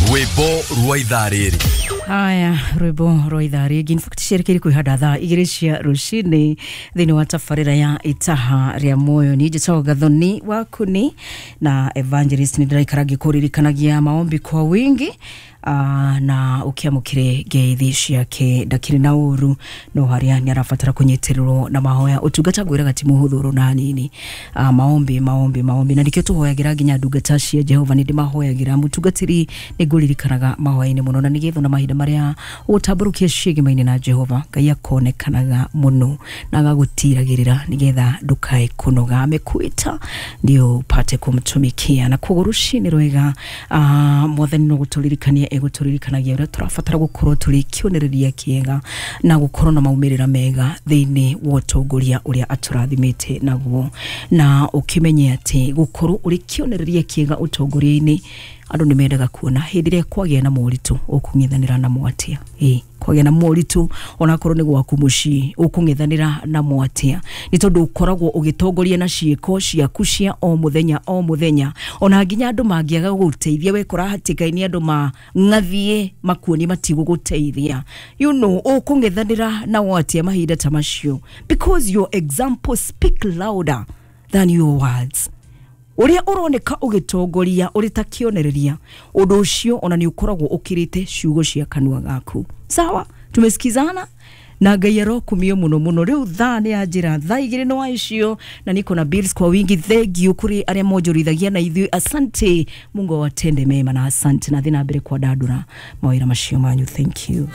Rwĩmbo rwa ithaa rĩrĩ. Haya, rwĩmbo rwa ithaa rĩngĩ. In fact, cierekeire kwĩhanda thaa 2 cia rũcinĩ thĩinĩ wa tabarĩra ya Itaha rĩa Muoyo. Niĩ njĩtagwo Gathoni Wakuni na Evangelist, nĩ ndĩraikara ngĩkũririkanagia maombi kwa wingi, na ũkĩamũkĩre ngeithi ciake. Ndakĩrĩ na ũru, no harĩa nĩ arabatara kũnyitĩrĩrwo na mahoya. Ũtungata ngwĩraga ti mũhũthũ na hanini. Maombi, maombi, maombi, na nĩkĩo tũhoyagĩra nginya ndungata cia Jehova. Nĩ ndĩmahoyagĩra mũtungatĩri, nĩ ngũririkanaga mahoya-inĩ mũno, na nĩgetha ona mahinda marĩa ũgũtambũrũkia ciĩgema-inĩ na Jehova, Ngai akonekanaga mũno na agagũtiragĩrĩra nĩgetha ndũkae kũnoga. Amekuita ndio upate kumtumikia. Na koguo rũcinĩ rwega, Mwathani no gũtũririkania egũtũririkanagia ũrĩa tũrabatara gũkorwo tũrĩ kĩonereria kĩega na gũkorwo na maumĩrĩra mega thĩinĩ wa ũtongoria ũrĩa atũrathimĩte naguo. Na ũkĩmenye atĩ gũkorwo ũrĩ kĩonereria kĩega ũtongoria-inĩ, andũ nĩ mendaga kuona hĩndĩ ĩrĩa kwagĩa na moritũ ũkũng'ethanĩra namo atĩa. Ĩ kwagĩa na moritũ, onakorwo nĩ gwaku mũciĩ, ũkũng'ethanĩra namo atĩa? Nĩ tondũ ũkoragwo ũgĩtongoria na ciĩko ciaku cia o mũthenya o mũthenya. Ona nginya andũ mangĩaga gũgũteithia, wekora hatĩka-inĩ andũ mang'athie makuonie matigũgũteithia, ũkũng'ethanĩra nao atĩa mahinda ta macio? Because your example speak louder than your words. Ũrĩa ũroneka ũgĩtongoria ũrĩ ta kĩonereria, ũndũ ũcio ona nĩ ũkoragwo ũkĩrĩte ciugo cia kanua gaku. Sawa, tumesikizana? Na Ngai arokumio mũno mũno. Rĩu thaa nĩ ya njĩra thaa 2 nĩ wa icio, na niko na bills kwa wingi. Thank you kũrĩ arĩa monjorithagia na ithuĩ. Asante, Mungu awatende mema na asante, na thĩ na mbere kwandandũra mawĩra macio manyu. Thank you.